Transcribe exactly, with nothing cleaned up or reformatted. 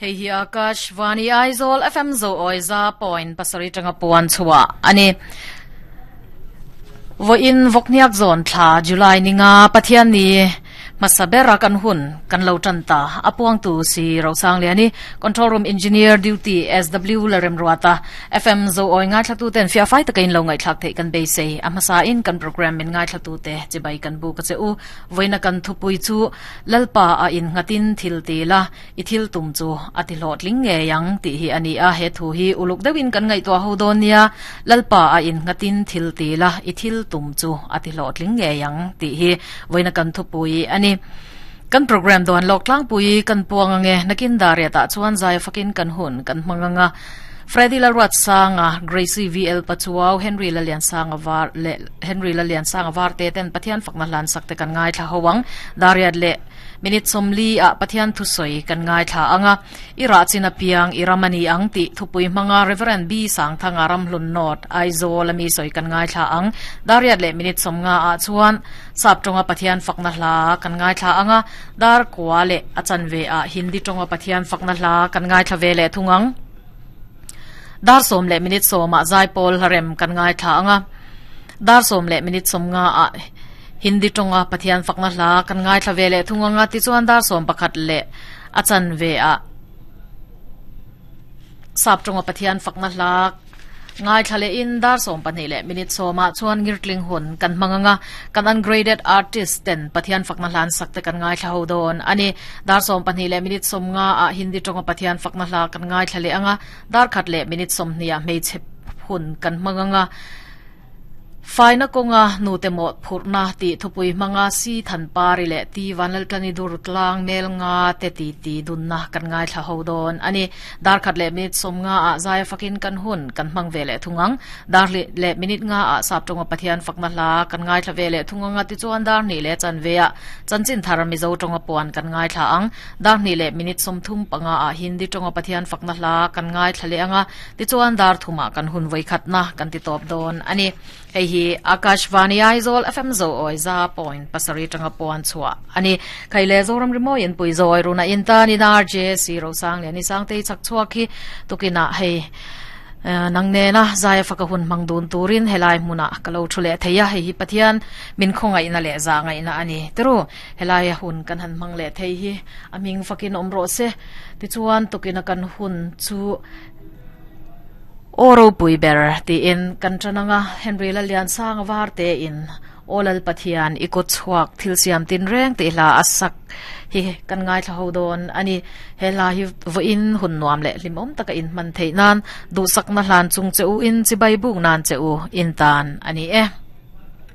Hei hi Akashvani Aizawl F M zo oi za point pasarih tanga puan chhuah ani. Voin vokniak zone thla July ninga Pathian ni masabera kan hun kan lo tan ta apuang tu si Rosang liani control room engineer duty S W Larem Ruata F M zo oi ngai thlatu ten fia fai takin lo ngai thlak thei kan be sei amasa in kan program min ngai thlatu te chibai kan bu ka che u voina kan thupui chu lalpa a in ngatin thil ti la i thil tum chu ati hlot ling nge yang ti hi ani a he thu hi uluk deuhin kan ngai to ho don nia lalpa a in ngatin thil ti la i thil tum chu ati hlot ling nge yang ti hi voina kan thupui ani kan program don lok tlang pui kan puang ange nakin daria ta chuan zai fakin kan hun kan manganga Freddy Laruat Sanga Gracie V L Pachuau Henry Lalian Sanga var le Henry Lalian Sanga var te ten Pathian fakna hlan sak te kan ngai thla howang daria le minute somli a Pathian thu soi kan ngai thla anga ira china piang iramani ang ti thupui manga Reverend B Sang thanga ramhlun not Aizawl ami soi kan ngai thla ang daria le minute somnga a chuan sap tonga Pathian fakna hla kan ngai thla anga dar kwa le achan ve a Hindi tonga Pathian fakna hla kan ngai thla ve le thungang dar som le minute soma zai pol harem kan ngai thla anga dar som le minute som nga a Hindi tonga Pathian fakna hla kan ngai thla ve le thunganga ti chuan dar som pakhat le achan ve a sap tonga Pathian fakna hla ngai thlale in dar som pahnih le minute soma chuan ngirtling hun kan manganga kan ungraded artist ten Pathian fakna hlan sakte kan ngai thla ho don ani dar som pahnih le minute som nga a Hindi tonga Pathian fakna hla kan ngai thlale anga dar khat le minute som hnia hmeichhe hun kan manganga faina konga nu te mo phurna ti thupui manga si than pari le ti vanal tani dur tlang mel nga te ti ti dunna kan ngai thla ho don ani dar khat le minute som nga a zai fakin kan hun kan mang ve le thungang dar le le minute nga a sap tonga Pathian fakna hla kan ngai thla ve le thunganga ti chuan dar ni le chan ve a chanchin thar mi zo tonga puan kan ngai thla ang dar ni le minute som thum panga a Hindi tonga Pathian fakna hla kan ngai thla le anga ti chuan dar thuma kan hun voi khatna kan ti top don ani hei hi Akashvani Aizawl F M zo oi za point pasarih tanga puan chhuah ani khaile zoram rimoi in pui zoi runa in ta ni R J C Rosang le ni sang te chak chhuak hi tukina hei nang ne na zai faka hun mangdun turin helai muna kalo thule theya hei hi Pathian min khongai na le za ngai na ani tru helai hun kan han mang le thei hi aming fakin omro se ti chuan tukina kan hun chu oro pui ber ti in kan chananga Henry Lalian Sang war te in olal Pathian ikot chuak thil siam tin reng te hla asak hi kan ngai thla ho don ani hela hi vo in hun nuam le limom taka in man thei nan du sak na hlan chung cheu in chibai buk nan cheu in tan ani e.